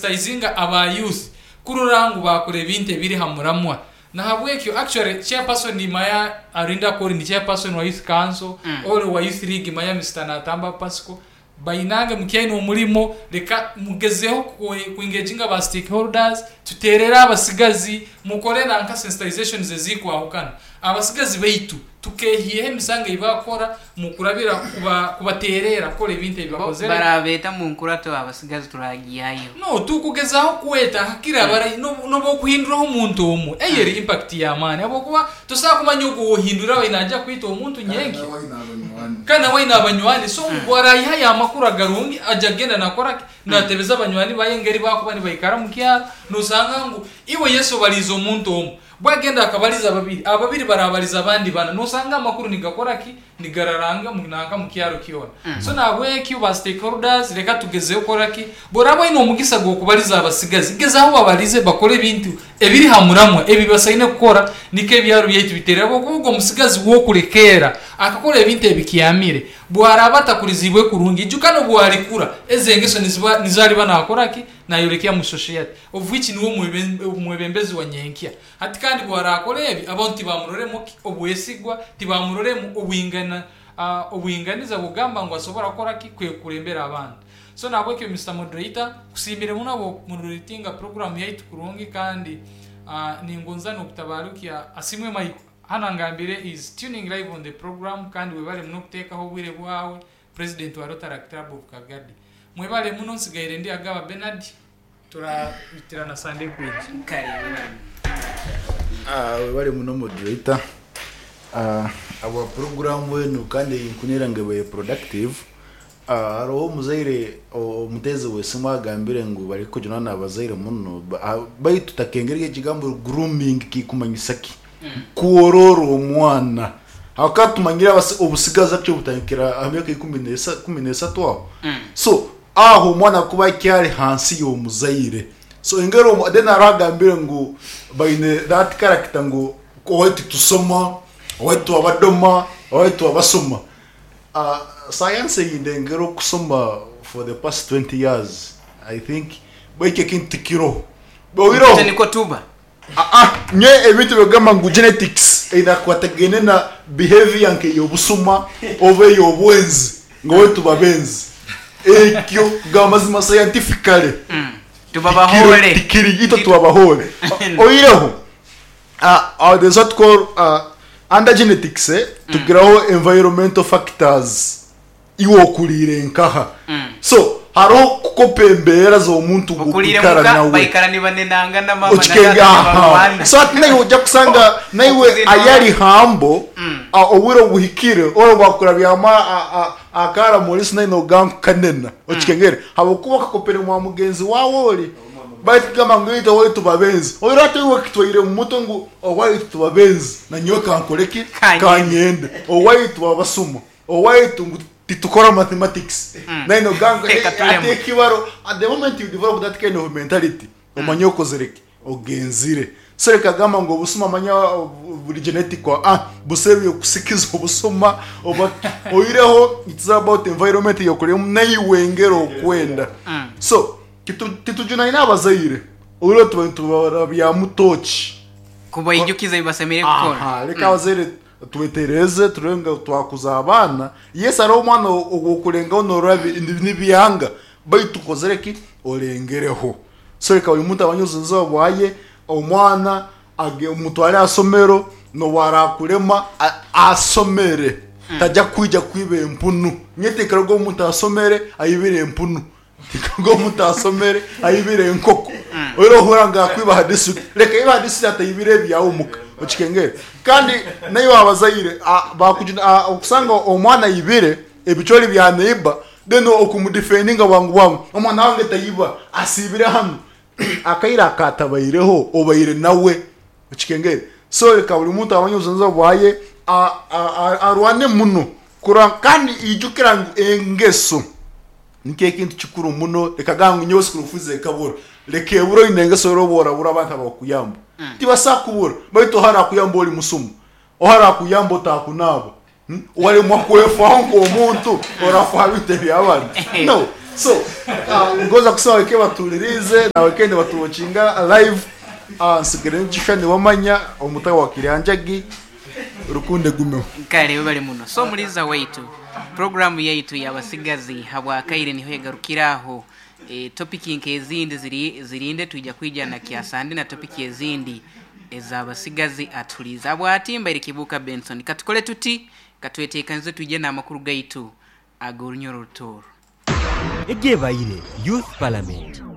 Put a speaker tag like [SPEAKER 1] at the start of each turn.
[SPEAKER 1] Sensitizinga aba youth kurora ngu baakora ebintu ebiri ha muramwa. Nahabwekyo actually chairperson manya arinda kori ni chairperson wa youth council or wa youth league manya Mister Natamba Pascal bainange mukyaine omurimo leka mugezeho ku engaginga ba stakeholders tuterere abasigazi mukore nanka sensitizations ezikwahukana abasigazi baitu Tukehiiheho emisango ei baakora mu kurabira kubateereera kukora ebintu ebi
[SPEAKER 2] Bo
[SPEAKER 1] bakozere.
[SPEAKER 2] baraabeeta mu nkurato abasigazi turaagihayo.
[SPEAKER 1] No, tukugezaho kweta hakiri abarahi n'obu okuhinduraho omuntu omwe, eyo eri impact y'amaani habwokuba tosobola kumanya ogu ow'ohindwire abaire naija kwita omuntu nyenkya. Kandi nawe aine abanywani, so obu araayihayo amakuru agarungi aja kugenda naakora ki? Naatebeza banywani baye engeri baakuba nibaikara omu kyaro, noosanga ngu iwe Yesu obaliize omuntu omu, Bwagenda akabaliza babiri, ababiri barabaliza abandi bana, nosanga amakuru nigakora ki? Nigararanga nanka mukyaro kyona. So nahabwekyo ba stakeholders reka tugezeho kukora ki? Bworaba oine omugisa gwokubaliza abasigazi, gezaho obabalize bakore ebintu ebiri ha muramwa ebi basaine kukora nikwo ebyaro byaitu biterere habwokuba ogwo omusigazi wokulekeera akakora ebintu ebikyamire, bwaraba atakuriziibwe kurungi, ijuka nobwarikura ezo engeso niziba nizo ariba nakora ki? Nayorekya mu society. Of which niwe omwebembezi wa nyenkya. Hati kandi ku araakora ebi, abantu tibamuroremu ki? Obwesigwa, tibamuroremu obwingana, obwinganiza bw'okugamba ngu asobora kukora ki? Kwekurembera abantu. So nahabwekyo Mister Moderator, nkusiimire muno habw'okumoderatinga program yaitu kurungi kandi ningonza n'okutabarukya Asiimwe Michael hanu angambire is tuning live on the program kandi webale muno kuteekaho obwire bwawe, President wa Rotaract Club of Kagadi. Mwebale muno, nsigaire ndi Agaba Bernard. Turabitirana Sande ekwija.
[SPEAKER 3] Webale muno moderator ahabwa puroguramu enu kandi nkunira ngu ebaire productive. Hariho omuzaire omuteezi w'esimu agambire ngu barikujunana n'abazaire muno baitu takengere ekigambo grooming kikumanyisa ki? Kworora omwana ahabw'okuba tumanyire obusigazi actually butandikira aha myaka ikumi n'esatu aho so Aho omwana kuba akyari hansi y'omuzaire so engeri omu then hariho agambire ngu baine that character ngu owaitu titusoma, owaitu abadoma, owaitu abasoma. Science eyindengera okusoma for the past 20 years I think ekyo ekintu tikiroho. Oihireho
[SPEAKER 2] Itwe nikwo tuba.
[SPEAKER 3] Aa nyowe ebintu ebyokugamba ngu genetics eine akakwatagaine na behavior nk'eyobusuma oba ey'obwenzi ngu owaitu babenzi ekyo kugamba amazima scientifically
[SPEAKER 2] Tuba
[SPEAKER 3] tikiri
[SPEAKER 2] bahoore.
[SPEAKER 3] tikiri itwe tuba bahoore. Oihireho there's what call under genetics tugiraho environmental factors. Iwe okuriire nkaha? So hariho kukopa embeera z'omuntu gu
[SPEAKER 2] Okuriire
[SPEAKER 3] okwikara
[SPEAKER 2] muka
[SPEAKER 3] nawe.
[SPEAKER 2] baikara nibanenangana maama na
[SPEAKER 3] Okikenge
[SPEAKER 2] taata
[SPEAKER 3] aha.
[SPEAKER 2] nibarwana.
[SPEAKER 3] So hati naiwe ojja kusanga naiwe
[SPEAKER 2] Okuzina.
[SPEAKER 3] ayari hambo obwire obuhikire ora bwakurabyamu akaara muriso naiwe nogamba ngu kanena. Okikengere? Habwokuba okakopere mwa mugenzi wawe ori. Baitu kugamba ngu itwe owaitu babenzi. Oire hati iwe okitwaire omu mutwe ngu owaitu tubabenzi nanyowe kankore ki?
[SPEAKER 2] Kanyende.
[SPEAKER 3] Kanyende. Owaitu babasuma. Owaitu ngu titukora mathematics naye nogamba ngu
[SPEAKER 2] Reka
[SPEAKER 3] hey,
[SPEAKER 2] turemwe.
[SPEAKER 3] ate ekibaro at the moment you develop that kind of mentality omanye okozire ki ogenzire so reka gamba ngu obusuma manya buri genetic ah busa ebyokusikiza obusuma oba oihireho it's about environment eyokuremu naiwe engeri okwenda so titujunaine abazaire oihireho tuba nitubarabyamu tochi
[SPEAKER 2] Kubaijukiza ebi basemeriire kukora.
[SPEAKER 3] Aha, reka abazaire Twetereeze turebe ngu twakuza abaana. Yes hariho omwana ow'okurengaho norora nibyanga baitu tukozire ki? Orengereho. So reka buri muntu amanye obujunanizibwa bwaye, omwana omutware aha somero n'obu arakurema asomere taja kwija kwiba empunu. Nyowe tinkaroga omuntu asomere aibire empunu. Tinkaroga omuntu asomere aibire enkoko. Oira ohurra ngu akwiba aha district, reka aibe aha district ataibire ebyawe omuka. Okikengere? Kandi naiwe abazaire okusanga omwana aibire ebicwari bya neighbour then okumudefendinga bwangu bwangu, omwana wange taiba, asiibire hanu. Akaire akatabaireho obaire nawe. Okikengere? So reka buri muntu amanye obujunanizibwa bwaye, arwane muno kurora kandi ijukira ngu engeso nikyo ekintu kikuru muno. Reka gamba ngu nyowe school fees ekabura, reka ebure oine engeso oraba orabura abantu abakukuyamba. Tibasobola kukubura baitu oha arakuyamba ori musuma, oha arakuyamba otakunaaba, waremwa kwefaho nk'omuntu orafa aha bintu eby'abandi? No. So ngoza kusaba weke batulirize na weke batuwatchinga live. Nsigire nkishushani wamanya omutawa wa Kiryanjagi rukunde gumeho.
[SPEAKER 2] Kale bali muno. So muliza waitu, programu yaitu yabasigazi habwakaire niho egarukiraho. Topiki nk'ezindi zirinde twija kwija na kyasande na topiki ezindi ez'abasigazi atuliza. Abwatimba iri Kibuka Benson. Katukole tuti katwetekanize twije n'amakuru gaitu ag'orunyoro rutoro.
[SPEAKER 4] Egebaire Youth Parliament.